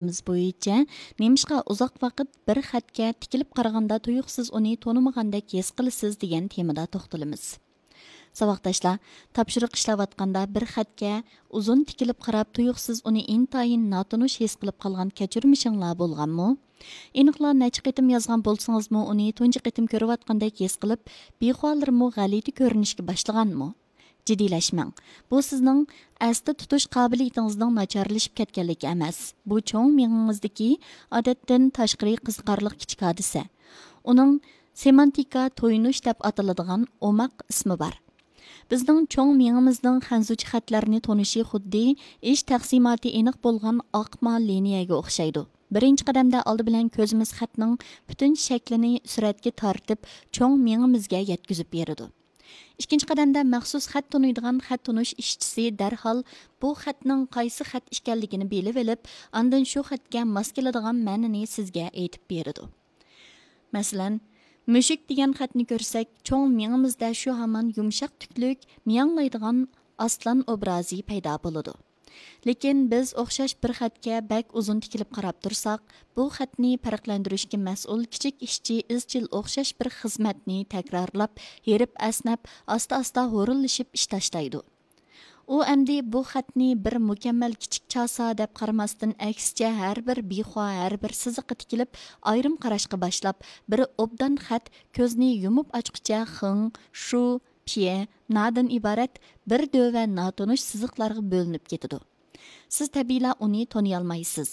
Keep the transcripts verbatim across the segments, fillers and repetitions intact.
بويىچە نېمىشقا ئۇزاق ۋاقىت بىر خەتكە تىكىلىپ قارىغاندا تۇيۇقسىز ئۇنى تونۇمىغاندەك ھېس قىلىسىز دېگەن تېمىدا توختىلىمىز. ساۋاقداشلار، تاپشۇرۇق ئىشلەۋاتقاندا بىر خەتكە ئۇزۇن تىكىلىپ قاراپ تۇيۇقسىز ئۇنى ئىنتايىن ناتونۇش ھېس قىلىپ قالغان كەچۈرمىشىڭلار بولغانمۇ؟ ئېنىقلا نەچچە قېتىم يازغان بولسىڭىزمۇ ئۇنى تۇنجى قېتىم كۆرۈۋاتقاندەك ھېس قىلىپ بىخۇالىرىمۇ غەلىتە كۆرۈنۈشكە باشلىغانمۇ؟ جىددىيلەشمەڭ. بۇ سىزنىڭ ئەستە تۇتۇش قابىلىيىتىڭىزنىڭ ناچارلىشىپ كەتكەنلىكى ئەمەس. بۇ چوڭ مېڭىڭىزدىكى ئادەتتىن تاشقىرى قىزىقارلىق كىچىك ھادىسە. ئۇنىڭ سېمانتىكا تويۇنۇش دەپ ئاتىلىدىغان ئوماق ئىسمى بار. بىزنىڭ چوڭ مېڭىمىزنىڭ خەنزۇچە خەتلەرنى تونۇشى خۇددى ئىش تەقسىماتى ئېنىق بولغان ئاقما لىنىيەگە ئوخشايدۇ. بىرىنچى قەدەمدە ئالدى بىلەن كۆزىمىز خەتنىڭ پۈتۈن شەكلىنى سۈرەتكە تارتىپ، چوڭ مېڭىمىزگە يەتكۈزۈپ بېرىدۇ. ئىككىنچى قەدەمدە مەخسۇس خەت تونۇيدىغان خەت تونۇش ئىشچىسى دەرھال بۇ خەتنىڭ قايسى خەت ئىكەنلىكىنى بىلىۋېلىپ، ئاندىن شۇ خەتكە ماس كېلىدىغان مەنىنى سىزگە ئېيتىپ بېرىدۇ. مەسىلەن، مۈشۈك دېگەن خەتنى كۆرسەك، چوڭ مېڭىمىزدە شۇ ھامان يۇمشاق تۈكلۈك، مىياڭلايدىغان ئاسلان ئوبرازى پەيدا بولىدۇ. لېكىن بىز ئوخشاش بىر خەتكە بەك ئۇزۇن تىكىلىپ قاراپ تۇرساق، بۇ خەتنى پەرقلەندۈرۈشكە مەسئۇل كىچىك ئىشچى ئىزچىل ئوخشاش بىر خىزمەتنى تەكرارلاپ، ھېرىپ-ئەسنەپ، ئاستا-ئاستا ھورۇنلىشىپ ئىش تاشلايدۇ. ئۇ ئەمدى بۇ خەتنى بىر مۇكەممەل كىچىك چاسا دەپ قارىماستىن، ئەكسىچە ھەر بىر بىخۇا، ھەر بىر سىزىققا تىكىلىپ، ئايرىم قاراشقا باشلاپ، بىر ئوبدان خەت كۆزنى يۇمۇپ ئاچقۇچە خېڭ، شۇ، پيې، نادىن ئىبارەت بىر دۆۋە ناتونۇش سىزىقلارغا بۆلۈنۈپ كېتىدۇ. سىز تەبىئىيلا ئۇنى تونۇيالمايسىز.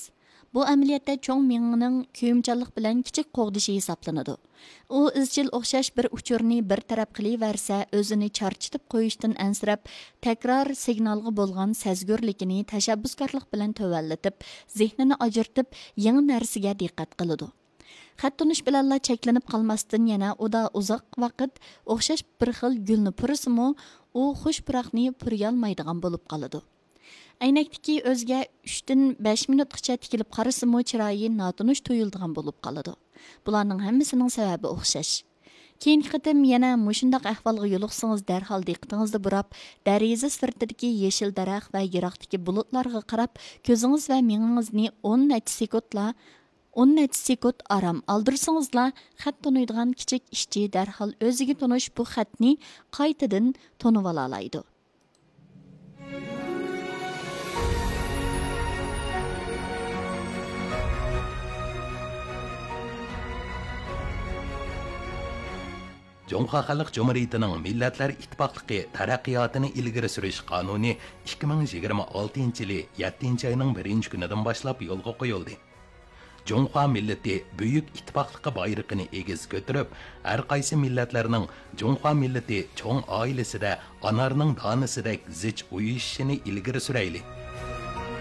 بۇ ئەمەلىيەتتە چوڭ مېڭىنىڭ كۆيۈمچانلىق بىلەن كىچىك قوغدىشى ھېسابلىنىدۇ. ئۇ ئىزچىل ئوخشاش بىر ئۇچۇرنى بىر تەرەپ قىلىۋەرسە، ئۆزىنى چارچىتىپ قويۇشتىن ئەنسىرەپ، تەكرار سىگنالغا بولغان سەزگۈرلۈكىنى تەشەببۇسكارلىق بىلەن تۆۋەنلىتىپ، زېھنىنى ئاجرىتىپ، يېڭى نەرسىگە دىققەت قىلىدۇ. خەت تونۇش بىلەنلا چەكلىنىپ قالماستىن، يەنە ئۇدا ئۇزاق ۋاقىت ئوخشاش بىر خىل گۈلنى پۇرىسىمۇ، ئۇ خۇش پۇراقنى پۇرىيالمايدىغان بولۇپ قالىدۇ. ئەينەكتىكى ئۆزىگە ئۈچتىن بەش مىنۇتقىچە تىكىلىپ قارىسىمۇ، چىرايى ناتونۇش تۇيۇلىدىغان بولۇپ قالىدۇ. بۇلارنىڭ ھەممىسىنىڭ سەۋەبى ئوخشاش. كېيىنكى قېتىم يەنە مۇشۇنداق ئەھۋالغا يولۇقسىڭىز، دەرھال دىققىتىڭىزنى بۇراپ، دەرىزە سىرتىدىكى يېشىل دەرەخ ۋە يىراقتىكى بۇلۇتلارغا قاراپ، كۆزىڭىز ۋە مېڭىڭىزنى ئون نەچچە سېكۇنتلا، ئون نەچچە سېكۇنت ئارام ئالدۇرسىڭىزلا، خەت تونۇيدىغان كىچىك ئىشچى دەرھال ئۆزىگە تونۇش بۇ خەتنى قايتىدىن تونۇۋالالايدۇ. جۇڭخۇا خەلق جۇمھۇرىيىتىنىڭ مىللەتلەر ئىتتىپاقلىقى تەرەققىياتىنى ئىلگىرى سۈرۈش قانۇنى ئىككى مىڭ يىگىرمە ئالتىنچى يىلى يەتتىنچى ئاينىڭ بىرىنچى كۈنىدىن باشلاپ يولغا قويۇلدى. جۇڭخۇا مىللىتى بۈيۈك ئىتتىپاقلىقى بايرىقىنى ئېگىز كۆتۈرۈپ، ھەر قايسى مىللەتلەرنىڭ جۇڭخۇا مىللىتى چوڭ ئائىلىسىدە ئانارنىڭ دانىسىدەك زىچ ئۇيۇشۇشىنى ئىلگىرى سۈرەيلى.